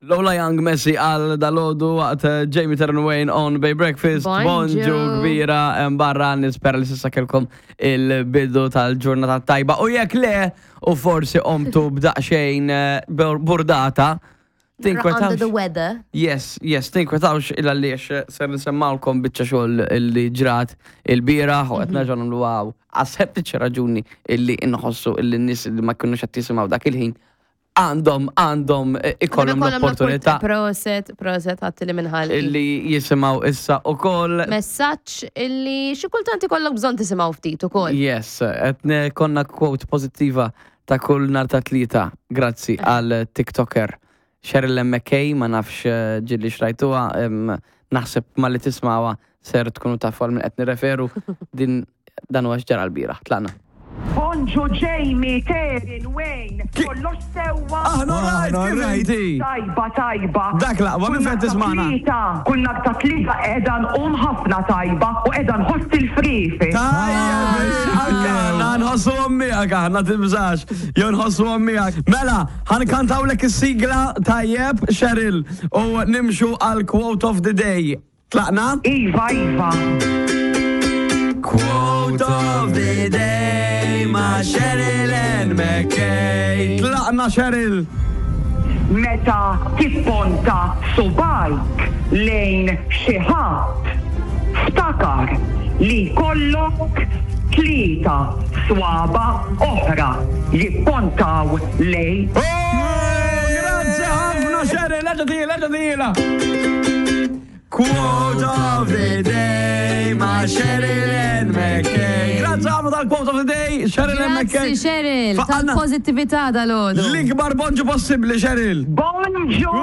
Lola Young Messi għal dalodu waqt eh, Jamie Terran Wayne on Bay Breakfast. Bonġu. Bonġu kbira em, barra nispera li sissa kelkom il-bidu tal-ġurnata tajba. U jekk le, u forsi omtu b'daqxejn eh, bur- burdata, Under the tinkwetawx. weather. Yes, yes, tinkwetawx il għaliex eh, ser nisemmawlkom biċċa xogħol illi ġrat il-bieraħ u qed nerġgħu nagħmlu għaw. Għas raġuni illi inħossu illi n-nies li ma kinux qed jisimgħu dak il-ħin għandhom għandhom eh, ikollhom l-opportunità Proset, proset, għatti li minħalli. illi jisimaw issa u koll. Messaġġ illi xi kultant ikollok bżonn tisimgħu ftit ukoll. Yes, etne konna quote pozittiva ta' kull nar ta' tlieta, grazzi għal TikToker. Cheryl McKay, ma nafx eh, ġilli xrajtuha, em, naħseb ma li tismawa ser tkunu tafu għal min qed nirreferu din dan huwa x'ġara l-bieraħ. Tlaqna. Bonġu Jamie, Terin, Wayne, kollox sewwa. Aħna rajt, kif inti? Tajba, tajba. Dak l-aqwa, minn fejn tismagħna? Tlieta, Kull nhar ta' tlieta qiegħda nqum ħafna tajba u qiegħda nħoss il-frifi. Tajjeb, anke aħna nħossu miegħek aħna tibżax, jew nħossu miegħek. Mela, ħankantawlek is-sigla tajjeb, Cheryl, u nimxu għal quote of the day. Tlaqna? Iva, iva. Quote of the day ma' Cheryl and McKay. Tlaqna Cheryl. Meta tipponta subajk lejn xi ħadd, ftakar li jkollok tlieta swaba oħra jippontaw lejk. Oh, Grazzi ħafna Cheryl, eġa tila, eġa tila. Quote of the day ma' Cheryl and McKay. Grazzi ħafna tal-quote of the day, Cheryl and McKay. Grazzi Cheryl, Faqalna tal-pozittività dal-għodu. L-ikbar bonġu possibbli, Cheryl. Bonġu!